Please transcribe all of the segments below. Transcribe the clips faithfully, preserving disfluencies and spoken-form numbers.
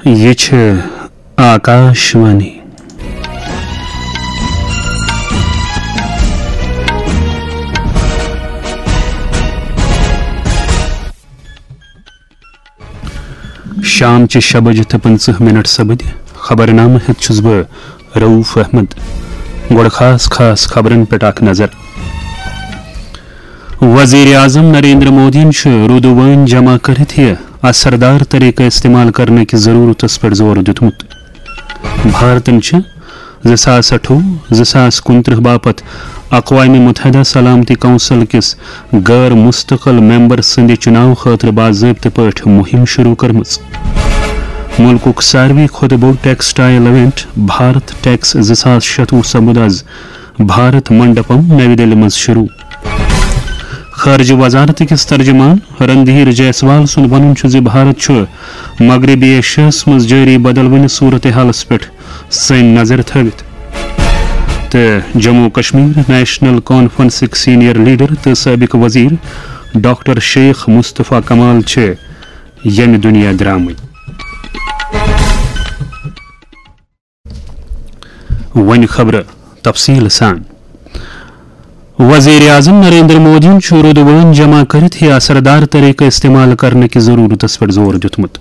یہِ چھِ آکاشوانی۔ شام چہِ شےٚ بجہِ تہٕ پٕنٛژٕہ منٹ سپٕدۍ۔ خبرنامہٕ ہٮ۪تھ چھُس بہٕ رؤف احمد۔ گۄڈٕ خاص خاص خبرن پٮ۪ٹھ اکھ نظر۔ وزیر اعظم نریندر مودیَن چھُ رُدٕ وٲنۍ جمع کٔرِتھ یہِ اثردار طریقہٕ استعمال کرنٕکِس ضرورتس پٮ۪ٹھ زور دیُتمُت۔ بھارتن چھِ زٕ ساس اَٹھووُہ زٕ ساس کُنترٕہ باپتھ اقوام متحدہ سلامتی کونسل کِس غٲر مستقل ممبر سٕنٛدِ چُناو خٲطرٕ باضٲبطہٕ پٲٹھۍ مُہِم شروع کٔرمٕژ۔ مُلکُک ساروی کھۄتہٕ بوٚڑ ٹیکسٹائل ایونٹ بھارت ٹیکس زٕ ساس شَتوُہ سپُد از بھارت منڈپم نَوِ دِلہِ منٛز شروع۔ خارجہ وزارت کِس ترجمان رندھیر جیسوال سُنٛد وَنُن چھُ زِ بھارت چھُ مغربی ایشیاہَس منٛز جٲری بدلوٕنہِ صورتحالَس پٮ۪ٹھ سٲنۍ نظر تھٲوِتھ۔ تہٕ جموں کشمیر نیشنل کانفرنسٕکۍ سینئر لیڈر تہٕ سٲبق وزیر ڈاکٹر شیخ مصطفیٰ کمال چھِ ییٚمہِ دُنیا درٛامٕتۍ۔ وۄنۍ خبرٕ تفصیٖل سان۔ وزیر اعظم نریندر مودیَن چھُ رُدٕ وٲنۍ جمع کٔرِتھ یہِ اثردار طریقہٕ استعمال کرنہٕ کِس ضروٗرتس پٮ۪ٹھ زور دیُتمُت۔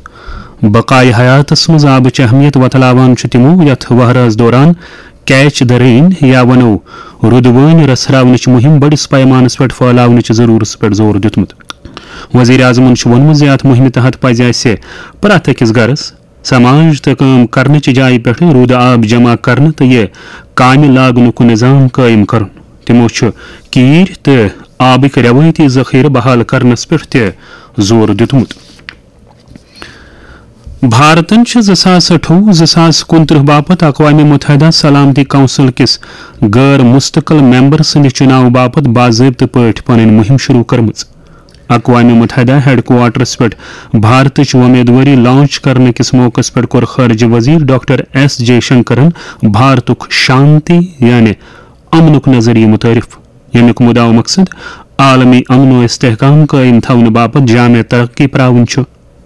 بقایہِ حیاتس منٛز آبٕچ اہمیت وۄتلاوان چھُ تِمو یتھ وہرٲژ دوران کیچ دی رین یا ونو رُدٕ وٲنۍ رژھراونٕچ مُہِم بٔڑِس پیمانس پٮ۪ٹھ پھٲلاونٕچ ضروٗرتس پٮ۪ٹھ زور دیُتمُت۔ وزیر اعظمن چھُ ووٚنمُت زِ اتھ مُہِمہِ تحت پزِ اسہِ پرٛٮ۪تھ أکِس گرس، سماج تہٕ کٲم کرنٕچہِ جایہِ پٮ۪ٹھ روٗدٕ آب جمع کرنہٕ تہٕ یہِ کامہِ لاگنُک نظام قٲیِم کرُن۔ تِمو چھُ کیٖرۍ تہٕ آبٕکۍ رٮ۪وٲیتی ذخیرٕ بحال کرنس پٮ۪ٹھ تہِ زور دیُتمُت۔ بھارتن چھِ زٕ ساس اَٹھووُہ زٕ ساس کُنترٕہ باپتھ اقوام متحدہ سلامتی کونسل کِس غٲر مستقل ممبر سٕنٛدِ چُناو باپتھ باضٲبطہٕ پٲٹھۍ پنٕنۍ مُہِم شروع کٔرمٕژ۔ اقوام متحدہ ہیڈ کوارٹرس پٮ۪ٹھ بھارتٕچ وۄمیدوٲری لانچ کرنہٕ کِس موقعس پٮ۪ٹھ کوٚر خارجہ وزیر ڈاکٹر ایس جے شنکرن بھارتُک شانتی یعنی امنُک نظریہ متعارف، ییٚمیُک مدعا و مقصد عالمی امن و استحکام قٲیِم تھاونہٕ باپتھ جامع ترقی پراوُن چھُ۔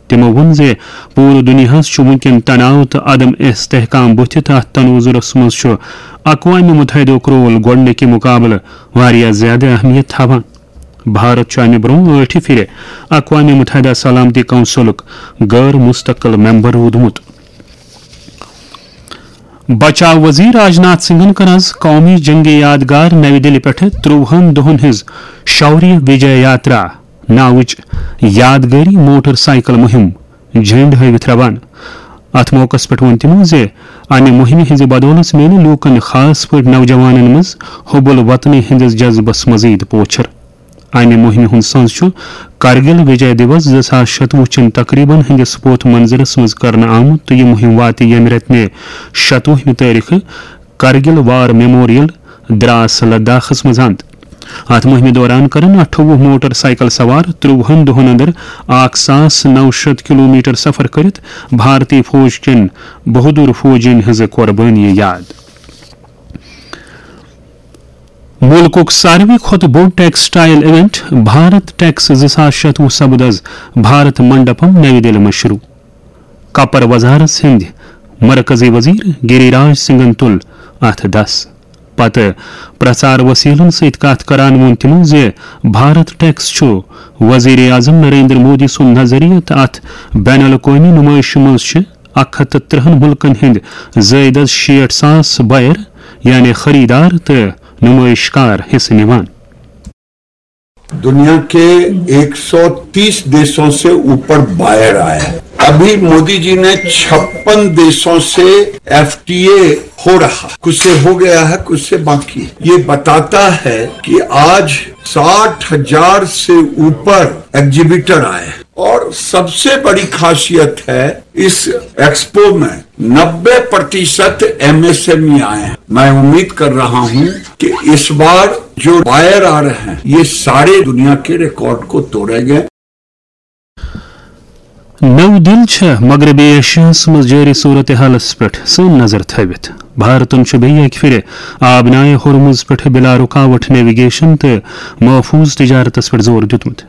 تِمو ووٚن زِ پوٗرٕ دُنیاہَس چھُ وٕنکیٚن تناو تہٕ عدم استحکام بُتھِ تہٕ اَتھ تناظرَس منٛز چھُ اقوام متحدُک رول گۄڈٕنِکہِ مُقابلہٕ واریاہ زیادٕ اہمیت تھاوان۔ بھارت چھُ اَمہِ برٛونٛہہ ٲٹھِ پھِرِ اقوام متحدہ سلامتی کونسلُک غٲر مستقل ممبر روٗدمُت۔ بچاو وزیر راجناتھ سنگھن کٔر از قومی جنگی یادگار نَوِ دِلہِ پٮ۪ٹھٕ ترٛۆہَن دۄہَن ہٕنٛز شوریہ وجے یاترا ناوٕچ یادگٲری موٹر سائیکل مُہِم جھنڈ ہٲوِتھ روانہٕ۔ اتھ موقعس پٮ۪ٹھ ووٚن تِمو زِ امہِ مُہِمہِ ہٕنٛزِ بدولژ میلہِ لوٗکن، خاص پٲٹھۍ نوجوانن منٛز حب الوطنی ہٕنٛدِس جذبس مزید پوچھر۔ امہِ مُہِمہِ ہُنٛد سَنٛز چھُ کرگل وجے دیوس زٕ ساس شَتوُہ چٮ۪ن تقریبن ہٕنٛدِس پوتھ منظرس منٛز کرنہٕ آمُت تہٕ یہِ مُہِم واتہِ ییٚمہِ رٮ۪تہٕ مے شَتوُہمہِ تٲریخہٕ کرگل وار میموریل دراس لداخس منٛز اند۔ اتھ مُہِمہِ دوران کرن اَٹھووُہ موٹر سائیکل سوار ترٛۆہَن دۄہن اندر اکھ ساس نَو شَتھ کلومیٹر سفر کٔرِتھ بھارتی فوج کٮ۪ن بہادر فوجین ہٕنٛز قربٲنی یاد۔ مُلکُک ساروی کھۄتہٕ بوٚڑ ٹیکسٹائل ایونٹ بھارت ٹیکس زٕ ساس شَتوُہ سپُد از بھارت منڈپم نَوِ دِلہِ منٛز شروع۔ کپر وزارس ہٕنٛدۍ مرکزی وزیر گری راج سنگھن تُل اتھ دس۔ پتہٕ پرچار وسیلن سۭتۍ کتھ کران ووٚن تِمو زِ بھارت ٹیکس چھُ وزیر اعظم نریندر مودی سُنٛد نظریہ تہٕ اتھ بین الاقوٲمی نمائشہِ منٛز چھِ اکھ ہتھ تہٕ ترٛہَن مُلکن ہٕنٛدۍ زٲیدٕ شیٹھ ساس بائر یعنی خریدار تہٕ نمائش کار حصہٕ نِوان۔ दुनिया के एक सौ तीस देशों से ऊपर बायर आए हैं। अभी मोदी जी ने छप्पन देशों से एफटीए हो रहा, कुछ से हो गया है, कुछ से बाकी है। ये बताता है कि आज साठ हजार से ऊपर एग्जीबिटर आए हैं। और सबसे बड़ी खासियत है इस एक्सपो में नब्बे प्रतिशत एमएसएमई आए हैं। मैं उम्मीद कर रहा हूं कि इस बार जो बायर आ रहे हैं, ये सारे दुनिया के रिकॉर्ड को तोड़ेंगे। نٔو دِل چھےٚ مغربی ایشیاہس منٛز جٲری صورتحالس پٮ۪ٹھ سٲنۍ نظر تھٲوِتھ۔ بھارتن چھُ بیٚیہِ اَکہِ پھِرِ آبنائے ہرمز پٮ۪ٹھ بلا رکاوٹ نیویگیشن تہٕ محفوظ تجارتس پٮ۪ٹھ زور دیُتمُت۔